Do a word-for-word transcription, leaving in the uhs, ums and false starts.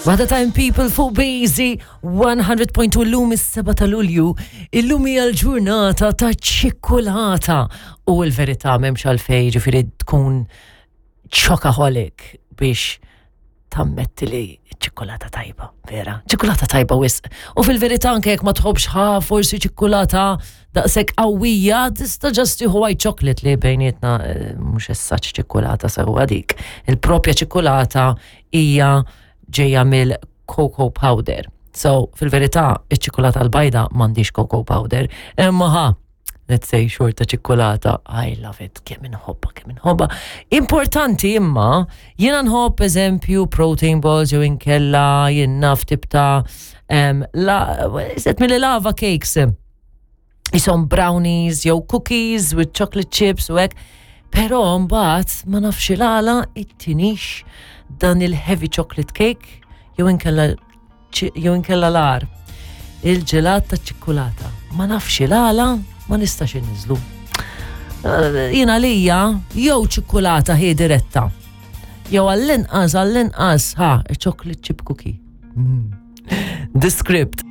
Waħda Time People fuq Bazy one hundred point two, illum is-seba' ta' Lulju, illum hija l-ġurnata ta' ċikkulata. U l-verità, m'hemmx għalfejn ġifieri tkun chocoholic biex tammetti li ċikkulata tajba, vera, ċikkulata tajba wisq. U fil-verità, anke jekk ma tħobbx ħa forsi ċikkulata daqshekk qawwija, tista' just tieħu white chocolate li bejnietna eh, mhux essaċ ċikkulata sewwa dik. Il-propja ċikkulata hija ġejja mill-cocoa powder. So, fil-verità, iċ-ċikkulata l-bajda m'għandix cocoa powder. Imma ħa, let's say, xorta ċikkulata, I love it, kemm inħobba, kemm inħobba. Importanti imma, jiena nħobb, eżempju, protein balls jew inkella jien naf tip ta' um, la, iżjed mill lava cakes, jisom brownies jew cookies with chocolate chips u hekk. Però mbagħad ma nafx il-għala ittinix dan il-heavy chocolate cake jew inkella ċi- jew inkella l-ar il-ġelat ta' ċikkulata. Ma nafx il-għala ma nistax inniżlu. Eh, Jiena lija jew ċikkulata hi diretta. Jew għall-inqas għall-inqas ha chocolate chip cookie. Mm. The Script.